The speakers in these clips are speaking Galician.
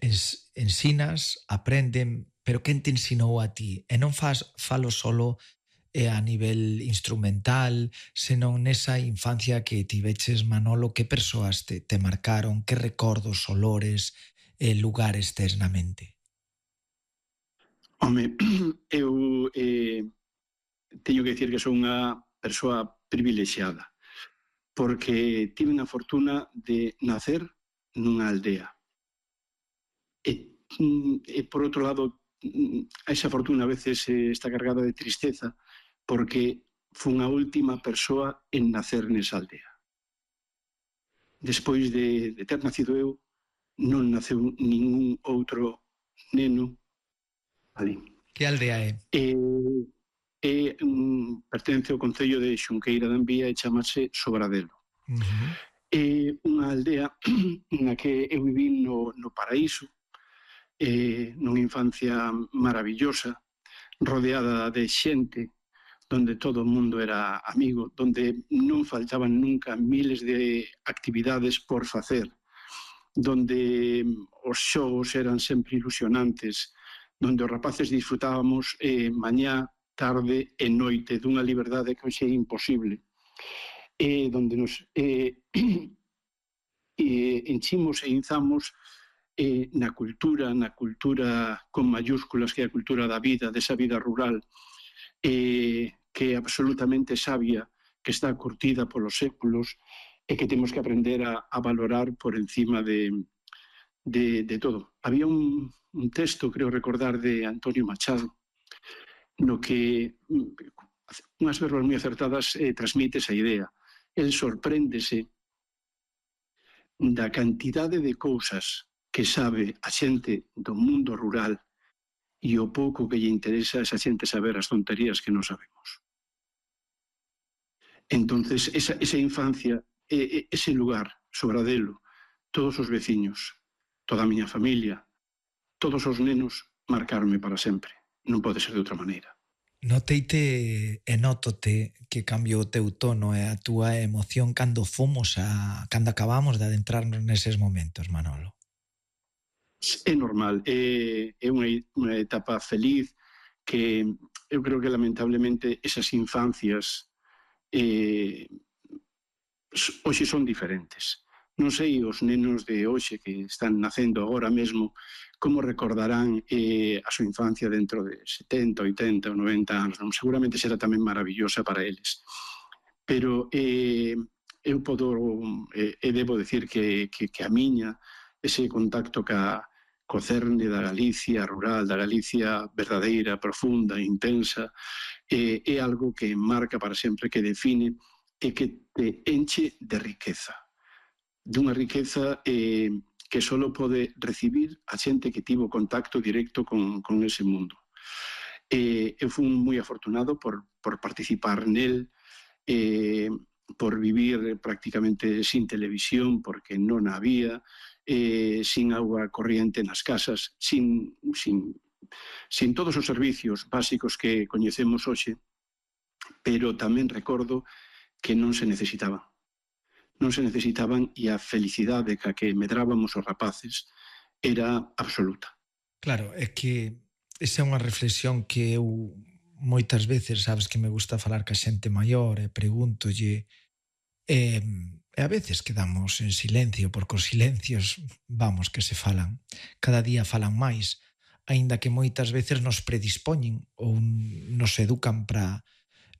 ensinas, aprenden, pero quen te ensinou a ti? E non falo solo a nivel instrumental, senón nesa infancia que tiveches, Manolo, que persoas te marcaron, que recordos, olores, lugares tes na mente? Home, eu teño que dicir que son unha persoa privilexiada, porque tive a fortuna de nacer nunha aldea. E por outro lado, esa fortuna a veces está cargada de tristeza, porque fun a última persoa en nacer nesa aldea. Despois de ter nacido eu, non naceu ningún outro neno ali. Que aldea é? Pertence ao concello de Xunqueira de Ambía e chamase Sobradelo. É unha aldea na que eu vivín no paraíso, nunha infancia maravillosa, rodeada de xente, donde todo o mundo era amigo, donde non faltaban nunca miles de actividades por facer, donde os xogos eran sempre ilusionantes, donde os rapaces disfrutábamos mañá, tarde e noite dunha liberdade que hoxe é imposible, donde nos enchimos e inzamos na cultura con mayúsculas, que é a cultura da vida, desa vida rural, que é absolutamente sabia, que está curtida polos séculos e que temos que aprender a valorar por encima de todo. Había un texto, creo recordar, de Antonio Machado, no que unhas verbas moi acertadas transmite esa idea. El sorpréndese da cantidade de cousas que sabe a xente do mundo rural e o pouco que lle interesa a esa xente saber as tonterías que non sabemos. Entonces, esa infancia, ese lugar, Sobradelo, todos os veciños, toda a miña familia, todos os nenos, marcarme para sempre. Non pode ser de outra maneira. Noteite e nótote que cambiou o teu tono e a túa emoción cando acabamos de adentrarnos neses momentos, Manolo. É normal, é unha etapa feliz que eu creo que lamentablemente esas infancias hoxe son diferentes. Non sei os nenos de hoxe que están nacendo agora mesmo como recordarán a súa infancia dentro de 70, 80 ou 90 anos. Seguramente será tamén maravillosa para eles. Pero eu debo decir que a miña, ese contacto co cerne da Galicia rural, da Galicia verdadeira, profunda, intensa, é algo que marca para sempre, que define e que te enche de riqueza. Dunha riqueza que só pode recibir a xente que tivo contacto directo con ese mundo. Eu fui moi afortunado por participar nel, por vivir prácticamente sin televisión, porque non había, sin auga corriente nas casas, sin todos os servicios básicos que coñecemos hoxe, pero tamén recordo que non se necesitaban. Non se necesitaban e a felicidade ca que medrábamos os rapaces era absoluta. Claro, é que esa é unha reflexión que eu moitas veces, sabes que me gusta falar ca xente maior e pregúntolle e a veces quedamos en silencio porque os silencios, vamos, que se falan. Cada día falan máis, aínda que moitas veces nos predispoñen ou nos educan para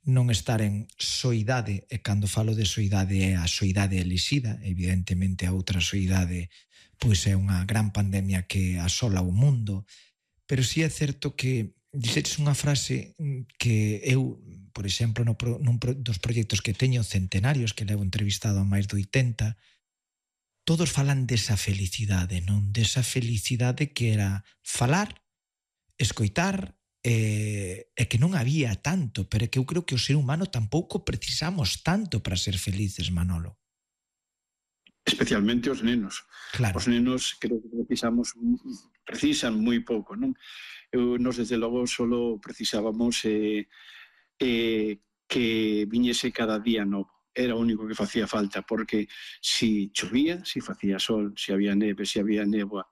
non estar en soidade, e cando falo de soidade é a soidade elixida, evidentemente a outra soidade pois é unha gran pandemia que asola o mundo, pero si é certo que dixetes unha frase que eu, por exemplo, nun dos proxectos que teño centenarios, que levo entrevistado a máis de 80, todos falan desa felicidade, non? Desa felicidade que era falar, escoitar, e que non había tanto, pero que eu creo que o ser humano tampouco precisamos tanto para ser felices, Manolo. Especialmente os nenos. Claro. Os nenos creo que precisan moi pouco, non? Nos, desde logo, solo precisábamos que viñese cada día novo. Era o único que facía falta, porque si chovía, si facía sol, si había neve, si había néboa,